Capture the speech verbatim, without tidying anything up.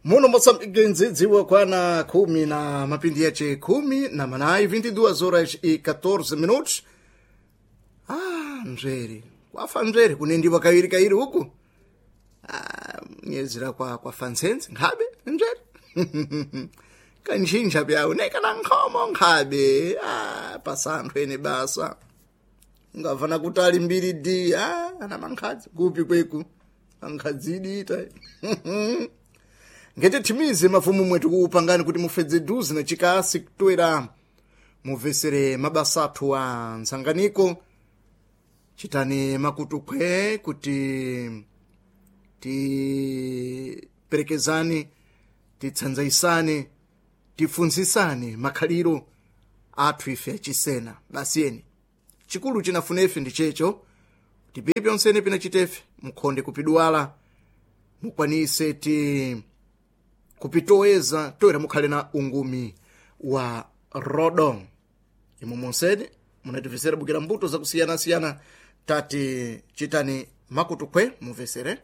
Muno Moçambique nzidziwa kwana khumi na mapindi yace khumi na manayi, vinte e duas horas e catorze minutos. Ah, mzvere kwafa mzvere kunendiwa kaviri kairi huku. Ah, nyezera kwa kwafa ntsenzi nkhabe mzvere kanchinja pyawo nekana nkhomo nkhabe. Ah, pasanthu ene basa ungavana kuti ali mbiri d. Ah, ana mankhadzi kupi kweku mankhadzidi ita ngete thimize mafumu mwetu kuupangani kuti mufedze duzi na chikasi kutwera muvesere mabasa athu a ntsanganiko. Chitani makutukhwe kuti tiperekezani, titsanzaisane, tifunzisane makhaliro athu ife achisena. Basi eni chikulu chinafuna ife ndi checho kuti pipi onsene pinachitefe mkhonde kupidwala mukwanise ti kupitoweza toera mukhale na ungumi wa rodo. Imwe monsene munatifesera bukira mbuto zakusiyanasiyana, tati chitani makutukhwe muvesere.